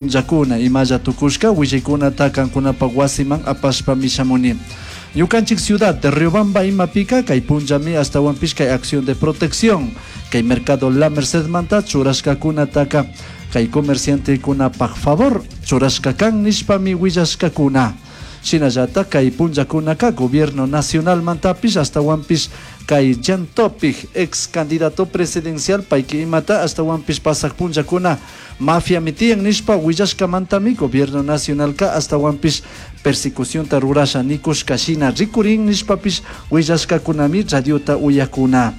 Punllakuna imalla tukushka willaykunata kankunapak wasiman apashpami shamuni. Ñukanchik ciudad de Riobamba imapika kay punllami ashtawanpish kay acción de protección kay mercado La Mercedmanta churashkakunataka kay comerciantekunapak favor churashka kan nishpami willashkakuna. Shinallatak kay punllakunaka gobierno nacionalmantapish ashtawanpish kay Jan Topic, ex candidato presidencial payki imata ashtawanpish pasak punllakuna mafiami tiyan nishpa willashkamantami gobierno nacionalka ashtawanpish persecucionta rurasha nikushka shina rikurin nishpapish willashkakunami radiota uyakuna.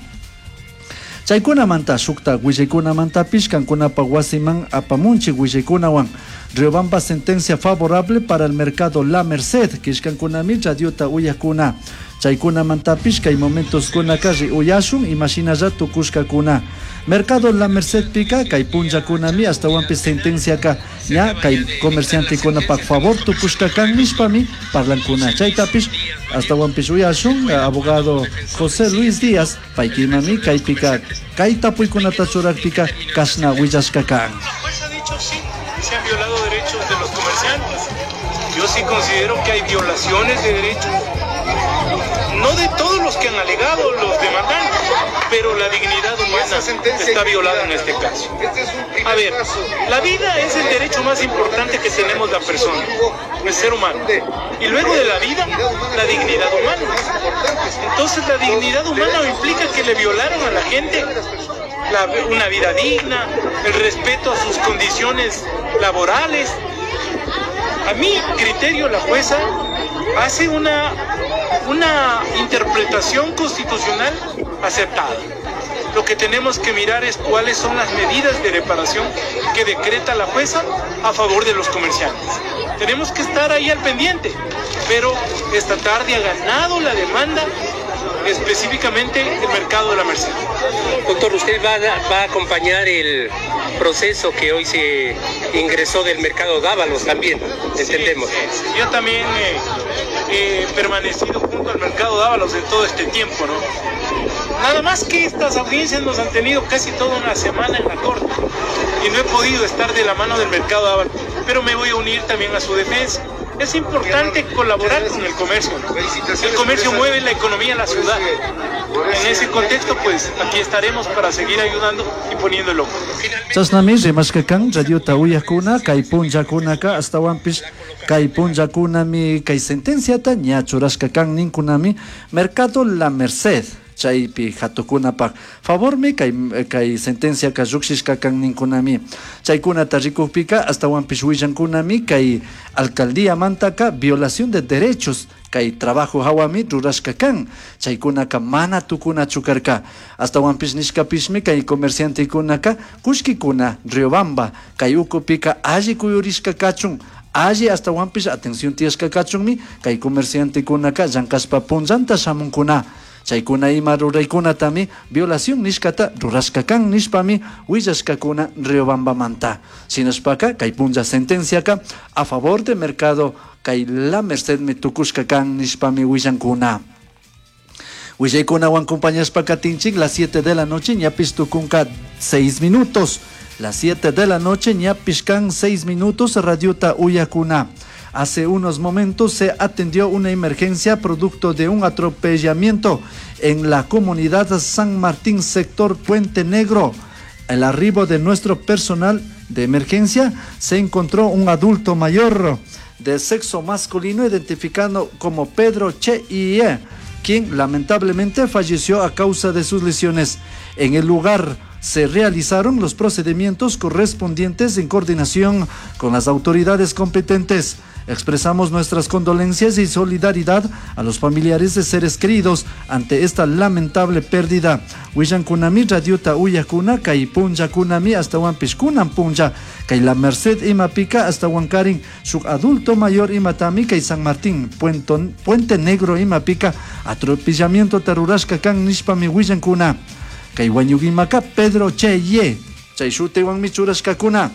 Chaykunamanta shukta willaykunamantapish kankunapak wasiman apamunchik willaykunawan. Riobamba sentencia favorable para el mercado La Merced, kishkankunami radiota uyakuna. Chaykunamantapish kay momentoskunaka ri uyashun imashinalla tukushkakuna. Mercado La Mercedpika kay punllakunami ashtawanpish sentenciaka ña kay comerciantekunapak favor tukushka kan nishpami parlankuna. Chaytapish ashtawanpish uyashun abogado José Luis Díaz paykimami kaypika kay tapuykunata churakpika kashna willashka kan. La jueza ha dicho sí, se han violado derechos de los comerciantes. Yo sí considero que hay violaciones de derechos, no de todos los que han alegado los demandantes, pero la dignidad humana está violada en este caso. A ver, la vida es el derecho más importante que tenemos la persona, el ser humano. Y luego de la vida, la dignidad humana. Entonces la dignidad humana implica que le violaron a la gente una vida digna, el respeto a sus condiciones laborales. A mi criterio, la jueza hace una interpretación constitucional aceptada. Lo que tenemos que mirar es cuáles son las medidas de reparación que decreta la jueza a favor de los comerciantes. Tenemos que estar ahí al pendiente, pero esta tarde ha ganado la demanda específicamente el mercado de la Merced. Doctor, usted va a acompañar el proceso que hoy se ingresó del mercado Dávalos también, entendemos. Sí, sí, sí. Yo también he permanecido junto al mercado Dávalos en todo este tiempo, ¿no? Nada más que estas audiencias nos han tenido casi toda una semana en la corte y no he podido estar de la mano del mercado Dávalos, pero me voy a unir también a su defensa. Es importante colaborar con el comercio, ¿no? El comercio mueve la economía de la ciudad. En ese contexto, aquí estaremos para seguir ayudando y poniendo el ojo. Chashnami rimashka kan radiota uyakuna, kay punllakunaka, ashtawanpish kay punllakunami, kay sentenciata ña churashka kan ninkunami, Mercado La Merced, chaypi hatukunapak favormi kay sentenciaka llukshishka kan ninkunami. Chaykunata rikukpika ashtawanpish willankunami kay alcaldíamantaka violación de derechos kay trabajo hawami rurashka kan, chaykunaka mana tukunachu karka. Ashtawanpish nishkapishmi kay comerciantekunaka kullkikuna Riobamba kay ukupika alli kuyurishka kachun, alli ashtawanpish atención tiyashka kachunmi kay comerciantekunaka llankashpa punllanta shamunkuna. Chaykuna ima ruraykunatami violación nishkata rurashka kan nishpami willashkakuna Riobambamanta. Shinashpaka kay punlla sentenciaka a favor de mercado kay La Merced mi tukushka kan nishpami willankuna. Willaykunawan acompañashpaka tinchik las 7 de la noche ñapis tukunka 6 minutos. Las 7 de la noche ñapis kan 6 minutos radiota uyakuna. Hace unos momentos se atendió una emergencia producto de un atropellamiento en la comunidad San Martín, sector Puente Negro. El arribo de nuestro personal de emergencia se encontró un adulto mayor de sexo masculino identificado como Pedro Che Ie, quien lamentablemente falleció a causa de sus lesiones. En el lugar se realizaron los procedimientos correspondientes en coordinación con las autoridades competentes. Expresamos nuestras condolencias y solidaridad a los familiares de seres queridos ante esta lamentable pérdida. Willankunami radiota uyakuna kay punllakunami hasta huanpishkunan punlla kay La Merced imapika hasta huancarin shuk adulto mayor imatami kay San Martín Puente Negro imapika atropellamiento tarurashka kan nishpami willankuna kay wañugimaka Pedro Cheye chay shutiwanmi churashkakuna.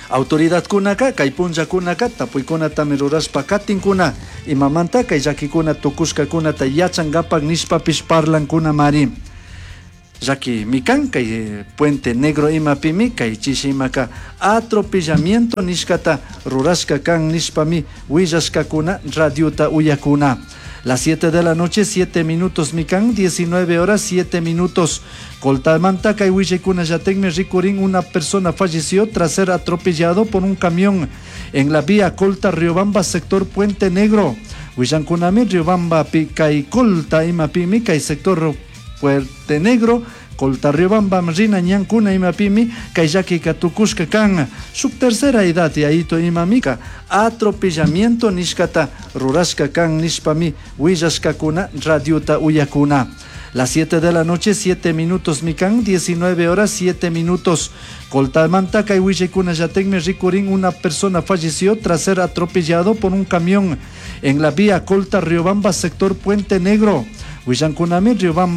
Autoridadkunaka kay punllakunaka tapuykunatami rurashpa katinkuna imamanta kay llakikuna tukushkakunata yachankapak nishpapish parlankuna mari. Llaki kan kay Puente Negro imapimi kay chishi imaka atropellamiento nishkata rurashka kan nishpami willashkakuna radiota uyakuna. Las 7 de la noche, 7 minutos mikan, 19 horas 7 minutos. Coltamanta kay willaykuna rikurin una persona falleció tras ser atropellado por un camión en la vía Colta Riobamba, sector Puente Negro. Willankunami Riobamba kay Colta imapimi kay sector Puente Negro. Colta Riobamba rina ñankuna imapimi kay llakika tukushka kan. Shuk tercera edad yayito imamika atropellamiento nishkata rurashka kan nishpami willashkakuna radiota uyakuna. Las 7 de la noche, 7 minutos mikan, 19 horas 7 minutos. Coltamanta kay willaykuna rikurin una persona falleció tras ser atropellado por un camión en la vía Colta Riobamba, sector Puente Negro. Willankunami Riobamba.